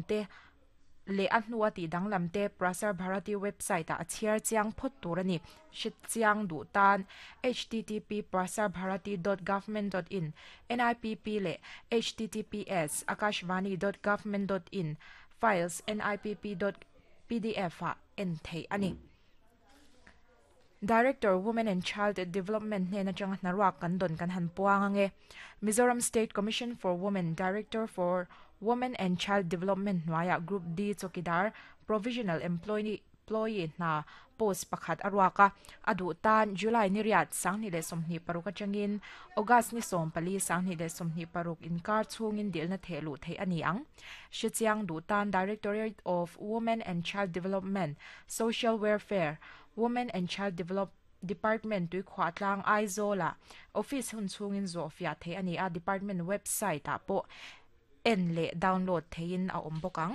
awm te leh a hnua tih danglam te Prasar Bharati website ah a chhiar chiang phawt tur a ni. Hre chiang duh tan http prasarbharati dot government dot in, NIPP leh https akashvani dot government dot in, files nipp dot pdf ah en theih a ni. Director, Women and Child Development hnen atanga hnaruak kan dawn kan han puang ange. Mizoram State Commission for Women, Director for Women and Child Development hnuaiah Group D chawkidar, Provisional Employee, hna post pakhat a ruak a, a duh tan July ni riat 2026 atangin August ni 14 2026 inkar chhungin dilna theh luh theih a ni ang. Hrechiang duh tan Directorate of Women and Child Development, Social Welfare, Women and Child Develop Department Tuikhuahtlang Aizawlah office hun chhungin zawh fiah theih a ni a, department website ah pawh en leh download theihin a awm bawk ang.